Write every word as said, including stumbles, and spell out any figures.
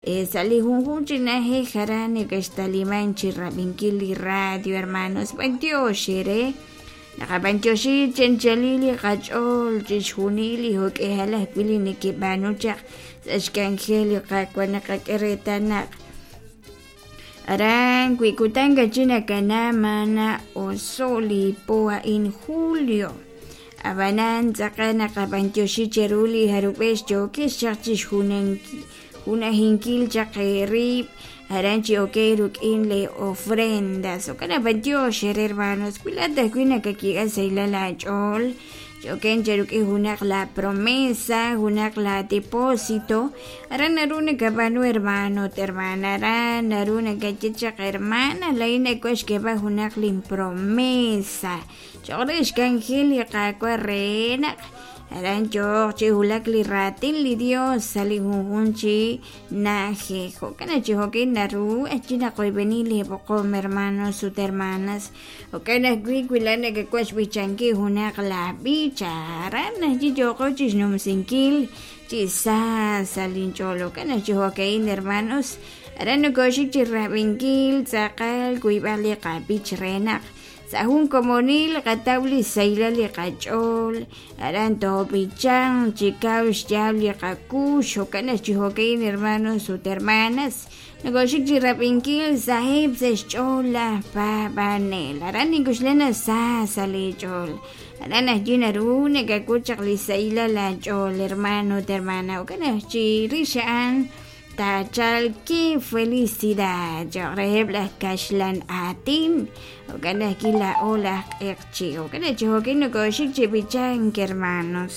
Sa' li junjunq chi na'ajej aran nekextaliman chi rab'inkil li radio, hermanos. B'antiox eere naqab'antioxi chi anchalil li qach'ool chixjunil li jo'k'ihal ajwi' li nekeb'aanu chaq sa' xk'anjel li Qaawa' naqak'e reetal naq aran wi kutan kachi nakana mana oso' li po a'in julio ab'anan tz'aqal naqab'antioxi cheru li jarub'ex yookex chaq chixjunankil junajinkil chaq eerib' aran chi okey ruk'in le ofrendas jo'kan b'antiox eere hermanos wi laa'at ajwi' nakakik'a sahilal aach'ool choken cheruk'in junaq la promesa junaq la depósito aran naru nakab'aanu hermano ut hermana aran naru nakaye chaq hermana laa'in nawaj xk'eeb'al junaq lin promesa cho'q re xk'anjel li Qaawa' re naq aran yooq chi wulak li raatin li Dios sa' li junjunq chi na'ajej jo'kan chi jo'kin naru ajwi' naqoyb'eni li b'oqom hermanos ut hermanas jo'kan ajwi' wi laa'at nakawaj xb'ichankil junaq la b'ich aran ajwi' yooqo chixnumsinkil chi sa sa' linch'ool jo'kan chi jo'ka'in hermanos aran nokoxik chi rab'inkil tz'aqal wiib'al li qab'ich re naq sa' jun komonil qataw li sahilal li qach'ool aran toob'ichan chi kaw xyaab' li qakuux jo'kan chi jo'ka'in hermanos ut hermanas nokoxik chi rab'inkil saheb' sa' xch'ool laj paab'anel aran ninkuxlena sa sa' li ch'ool aran ajwi' naru nakak'ut chaq li sahilal aach'ool hermano ut hermana jo'kan chi rix a'an taachal qué felicidad cho'q reheb' laj kaxlan aatin jo'kan ajwi' laa'o laj q'eqchi' jo'kan chi jo'kin nokoxik chi b'ichank hermanos.